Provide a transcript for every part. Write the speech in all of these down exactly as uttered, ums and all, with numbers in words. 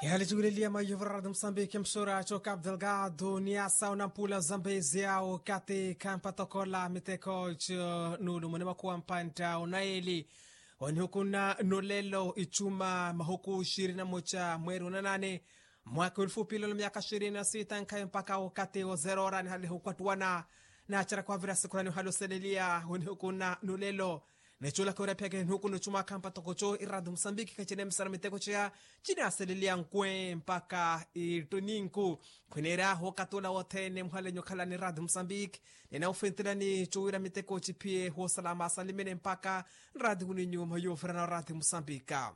Ehali cuwileliya maiyuvura radio musambiki msura co cap delgado ni asa unampula zambezia wakati kampatokola miteko co nulu muni makuwa mpanta unaeli. Onihukuna nulelo icuma mahuku ishirini na moca mweri unanane mwaka ulufupilolo myaka ishirini na sita nkhayi mpaka wakati wa zerora nihalihukwattuwana. Nachera kwavira sikurani uhali oseleliya onihukuna nulelo. Necoolaka wira phiyaka enuku nocumaaka mpatoko co iradi musambiki khacinemisana miteko ceya cinaaseleliya nkwe mpaka ittuninku. Khwineerya hookatula wothene muhalenye okhalani iradi musambiki. Ninaufentelani cowira miteko ciphiye hoosalama asalimene mpaka nradi wini nyuma yoovirana oradi musambika.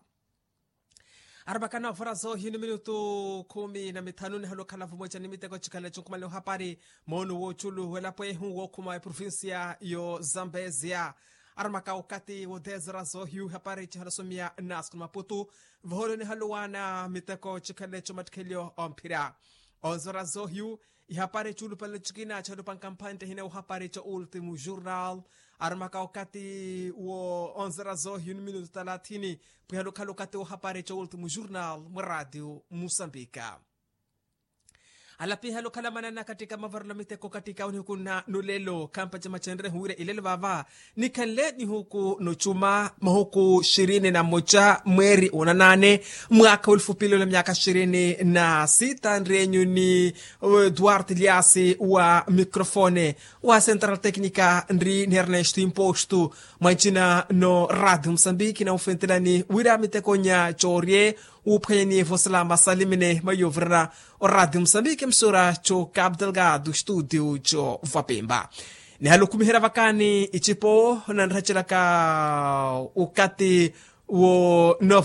Arapakana ovora zoohi ni minutu khumi na mithanu nihali okhala vumweca ni miteko cikhale cunkumale ohapari. Moono w'oculu w'elapo ehu wookhuma eprovincia yo zambezia. Aramaka okati wo dez horas zoohiyu hapari cihalosomiya nasiku ni maputu. Voholo nihaluwana miteko cikhale comattikhelyo omphira. Onze horas zoohiyu ihapari cuulupale cikina calupanka mphantte hina ohapari ca ultimo jornal. Aramaka okati wo onze horas zoohiyu ni minutu talathini. Pwihalukhala okati ohapari ca ultimo jornal mwa radio musambika. Alapiha lukhala manana katika mavarelo miteko katika onihuku na nulelo khampa camacenre huwira ilelo vava. Nikhanle nihuku nocuma mahuku ishirini na moca mweri unanane mwaka ulufupilelo myaka ishirini na sita nri enyu ni duarte liasi wa microfone wa central tecnica nri ni ernesto imposto. Mwancina no radio musambiki na ufentelani wira miteko nya corie. Wuphwanyani vosalama salimene mayovirana o radio musambiki msura co cap delgado studio co vapemba. Nihalukhumihira vakani icipo nanracelaka ukati wo nov.